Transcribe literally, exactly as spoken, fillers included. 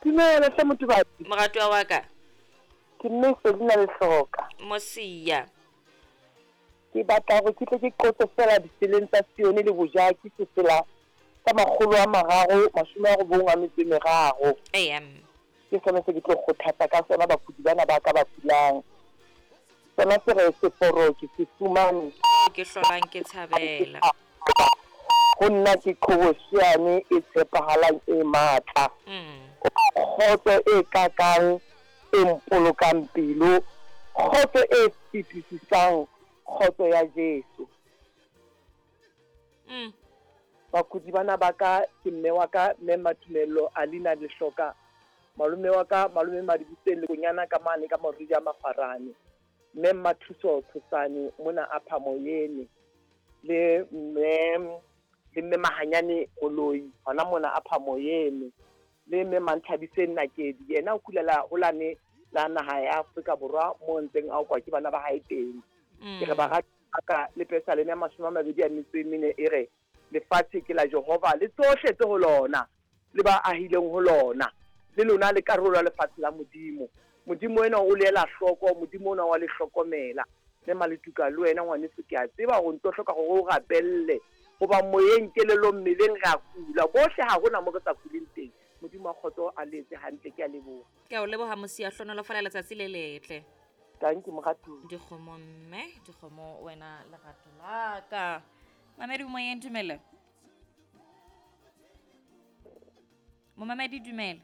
Dumela hle Motubatsi. Moratuwa wa ka. Ke mme Selina Lehloka. Mosia. Ke batla hore ke tle ke qotse feela ditseleng tsa Sione le Bojaki sefela sa makgolo a mararo mashome a robong a metso e meraro. Eya mme. Ke sona se ke tlo kgothatsa ka sona bakudi bana ba ka ba kulang. Sona se re seforo ke se fumane. Ke hlolang ke tshabela. Ho nna ke qhobosheane e tshepahalang e matla. Kgotso e kakang e mpolokang pelo, kgotso e fetisisang kgotso ya Jesu. Mm. Bakudi bana ba ka ke mme wa ka mme Matumello Alina Lehloka, malome wa ka malome Madibuseng le konyana ka mane ka Moridi a Makgwarane, mme Mmathuso Tshosane mona a Phamoyene, le mme le mme Mahanyane Moloi hona mona a Phamoyene, le mme Manthabiseng Nakedi yena o kulela holane la naha ya Afrika Borwa mo ntseng a okwa ke bana ba hae teng. Ke re barati ba ka le Pesaleme ya mashome a mabedi a metso e mene e re lefatshe ke la Jehova le tsohle tse ho lona le ba ahileng ho lona, le lona le karolo ya lefatshe la Modimo. Modimo ena o le ela hloko, Modimo ona wa le hlokomela. Mme Maletuka le wena ngwaneso ke a tseba hore ntso hloka hore o rapelle hoba moyeng, kelellong, mmeleng re a kula bohle, ha hona mo re sa kuleng teng. Modimo wa kgotso a le etse hantle, ke a leboha. Ke a o leboha Mosia, hlonolofala letsatsi le letle. Thank you moratuwa. Dikgomo mme, dikgomo wena lerato la ka. Mamedi moyeng, dumela. Momamedi dumela.